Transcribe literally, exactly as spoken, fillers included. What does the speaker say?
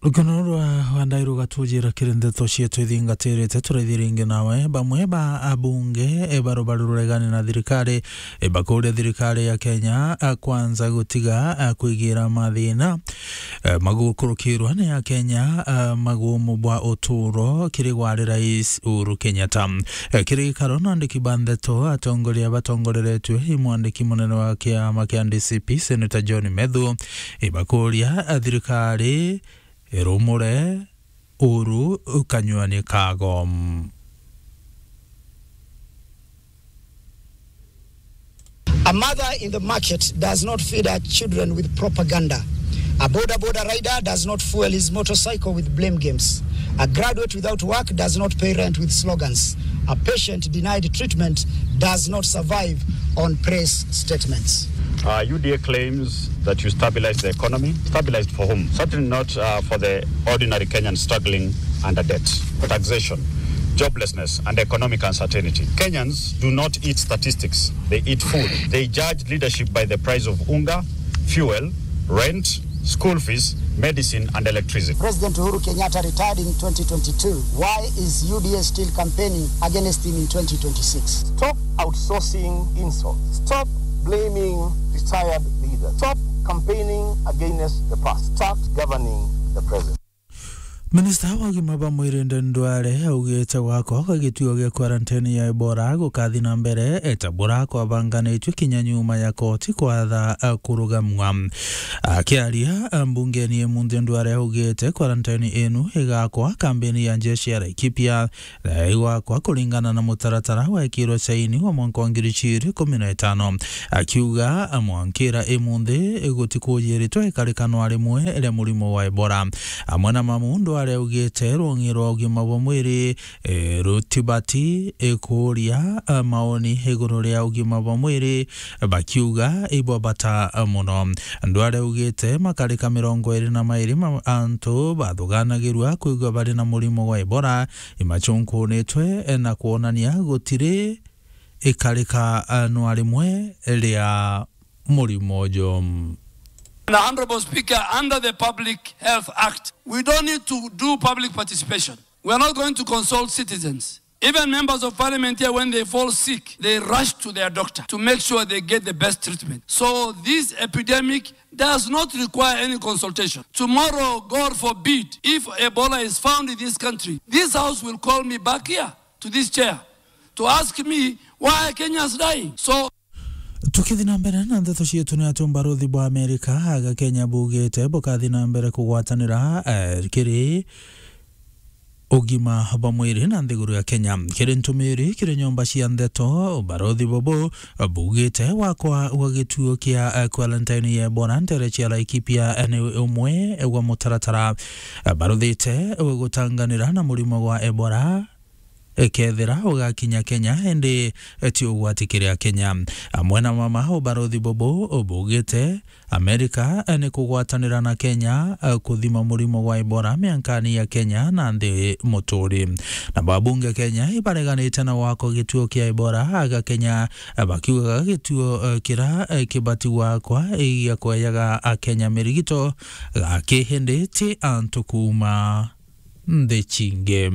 Rukano rwa Wandairũ gatujira kiri ndeto cietu ithingatirite, turaithie ringi nawe. Bamwe ba abunge, e, barubaru ruregani na thirikari, e, bakuria thirikari ya Kenya, a, kwanza gutiga, a, kwigira mathina, e, magukurukirwa ni Akenya, a, magumu bwa uturo kiri gwari Rais Uhuru Kenyatta. E, kiri gikaro na andiki ba ndeto, atongoria batongoreretue i mwandiki munene wa kiama kia D C P, Senator John Methu, ibakuria, a, thirikari irumure Uhuru kanywani kago. A mother in the market does not feed her children with propaganda. A boda boda rider does not fuel his motorcycle with blame games. A graduate without work does not pay rent with slogans. A patient denied treatment does not survive on press statements. Uh, U D A claims that you stabilized the economy. Stabilized for whom? Certainly not, uh, for the ordinary Kenyan struggling under debt, taxation, joblessness, and economic uncertainty. Kenyans do not eat statistics. They eat food. They judge leadership by the price of unga, fuel, rent, school fees, medicine, and electricity. President Uhuru Kenyatta retired in twenty twenty-two. Why is U D A still campaigning against him in twenty twenty-six? Stop outsourcing insults. Stop blaming retired leaders. Stop campaigning against the past. Start governing the present. Minista wa ugima bwa mwiri Aden Duale augite gwakwa gwa gituo gia quarantine ya Ebola gukathi na mbere, eta bura kwabanganitue kinya nyuma ya koti kwatha, a, kurugamwa. Akiaria, a, mbungeni imunthi, Duale augite quarantine inu igakwa kambini ya njeshi ya Laikipia na igwakwa kuringana na mutaratara wekirwe saini wa mwanka wa ngiri igiri ikumi na itano, akiuga, a, mwankira imunthi gutikujiritwe ikarikano rimwe ria murimo wa Ebola. Amwe na mamu, Duale augite rwong'i rwa ugima bwa mwiri, e, rutibati, e, kuuria, a, maoni iguru ria ugima bwa mwiri, bakiuga ibwa bata, a, muno. Duale augite makarika mirongo iri na mairi ma antu bathuganagirua kwigua bari na murimo wa Ebola, imachunkunitwe, e, na kwonania gutiri ikarika, a, nwa rimwe ria murimo uju. The Honorable Speaker, under the Public Health Act, we don't need to do public participation. We are not going to consult citizens. Even members of parliament here, when they fall sick, they rush to their doctor to make sure they get the best treatment. So this epidemic does not require any consultation. Tomorrow, God forbid, if Ebola is found in this country, this house will call me back here to this chair to ask me why Kenya is dying. So Tukithi na mbere na ndeto cietu, ni ati ubarothi bwa Amerika aga Kenya bugite bukathi na mbere kugwatanira, eh, kiri ugima bwa mwiri na nthiguru ya Kenya. Kiri ntumiri kiri nyomba cia ndeto, ubarothi bubu bugite gwakwa gwa gituo kia, eh, quarantine ya Ebola ntere cia Laikipia, eh, ni umwe wa mutaratara, eh, barothite gutanganira na murimo gwa Ebola, ekethira ugakinya Kenya, indi ti ugwati kiri Akenya. Amwe na mama, ubarothi bubu bugite Amerika ni kugwatanira na Kenya kuthima murimo gwa Ebola miankani ya Kenya na nthi muturi. Na babunge Kenya ibareganite na gwakwa gituo kia Ebola aga Kenya, bakiugaga gituo kira kibati gwakwa gia kwejaga Akenya mirigito gaki, indi ti antu kuuma nthi cingi.